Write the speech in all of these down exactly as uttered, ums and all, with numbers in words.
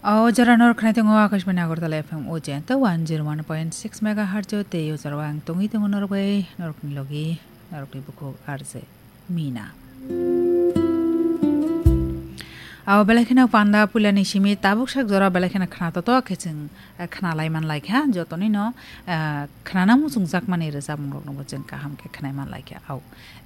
O jora norok khnai tongo Akashbani Agartala F M o jenta one zero one point six megahertz o tei o jora ang tongwi tongo norok bai norokni logi norokni bukhuk R J Mina. Abo belai kheno panda puilani simi tabuk sak jora belai kheno khna totok khe chwng, eh, khna lai man lai kha. Jotoni no, eh, khnana muchungjak mani rwchapmung rokno bo chwng kaham khe khnai man lai kha. Au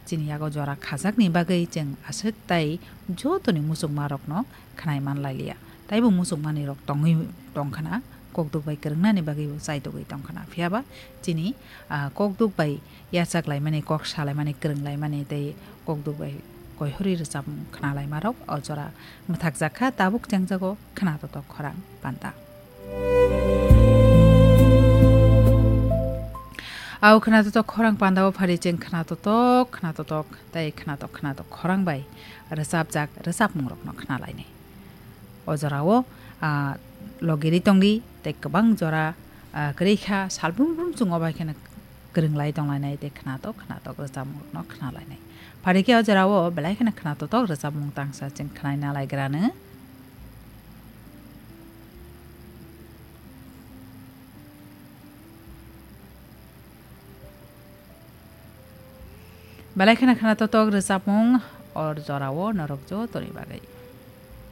chini yago jora khajakni bagwi chwng aswk tai jotoni muchungma rokno khnai man lai liya. Taibo muchungmani rok tongwi tong khna, kokduk bai kwrwngnani bagwi bo chaitogwi tong khna. Phiya ba chini, ah, kokduk bai yachak laimani, kok salaimani, kwrwng laimani tei kokduk bai koihorwi rwchapmung khna laimarok o jora mwthakjak kha, tabuk chengjago khna totok khorang panda. Au khna totok khorang panda o phari cheng khna totok, khna totok tei khna tok, khna tok khorang bai rwchapjak rwchapmung rokno khna lainai. O jorao, ah, logiri tongdi tei kwbang jora, ah, kwrwi kha, salbrum brum chwng o bai kheno kwrwng lai tong lainai tei khna tok, khna tok rwchapmung rokno khna lainai. Phari khe o jorao belai kheno khna totok rwchapmung tangsa chwng khnaina lai grano. Belai kheno khna totok rwchapmung o jorao norok jotoni bagwi.